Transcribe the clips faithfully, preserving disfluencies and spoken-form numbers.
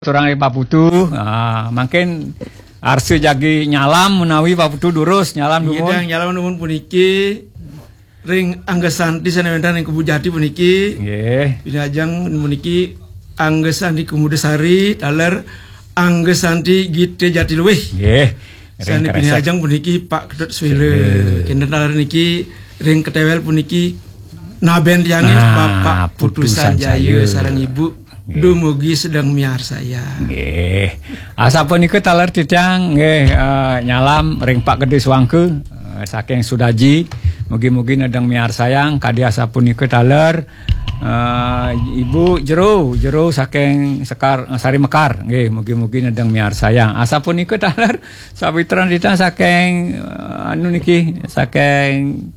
Turang ring Pak Putu, ah, mangkin arsa jagi nyalam menawi Pak Putu durus nyalam dumun. Nggih, nyalam dumun puniki ring angga santi sané wénten ring Kebun Jati puniki. Nggih. Pinajeng puniki angga santi Kemuda Sari, taler angga santi Gita Jati Luih. Nggih. Ring sané kresek. Pinajeng puniki Pak Ketut Swila. Swila. Kinten taler niki ring ketéwél puniki nabén tiangé nah, Bapak Putu Putu Sanjaya Sanjaya. Sareng Ibu. Nggih. Dumugi sedeng miarsayang. Nggih. Asapunika taler titiang nggih, eh, nyalam ring Pak Gedé Suangka, eh, saking Sudaji. Mugi-mugi nedeng miarsayang kadi asapunika taler, eh, Ibu Jero, Jero saking Sekar, eh, Sari Mekar. Nggih, mugi-mugi nedeng miarsayang. Asapunika taler sawitran titiang saking, eh, anu niki, saking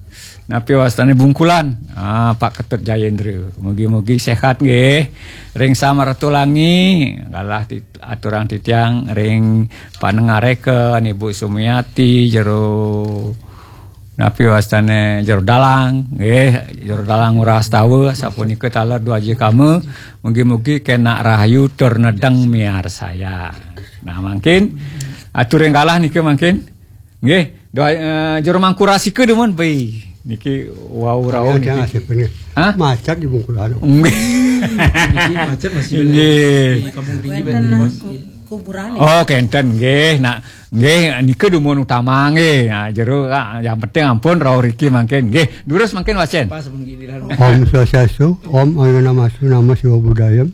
napi wastané Bungkulan. Ah, Pak Ketut Jayendra. Mugi-mugi séhat nggih. Ring Samaratulangi, galah tit-, aturang titiang ring panengareka Ibu Sumiati, Jero napi wastané Jero Dalang, nggih, Jero Dalang Ngurah Astawa, sapunika taler Dwaji Kama, mugi-mugi kénak rahayu tur nedeng miarsayang. Nah, mangkin atur ring galah nika mangkin. Nggih, doa, eh, Jero Mangku Rasika dumun, bai. Niki wau rauh niki. Hah? Macet di Bungkulan. Nggih. Niki macet masih nggih. Di Kampung Tinggi. Wénten kuburan. Oh, kénten nggih. Nah, nggih nika dumun utama nggih. Nah, Jero, ah, yang penting ampun rauh riki mangkin. Nggih, durus mangkin wacén. Pas pun gini lah. Om Swastiastu, Om Ananamastu, Namo Siwa Budaya.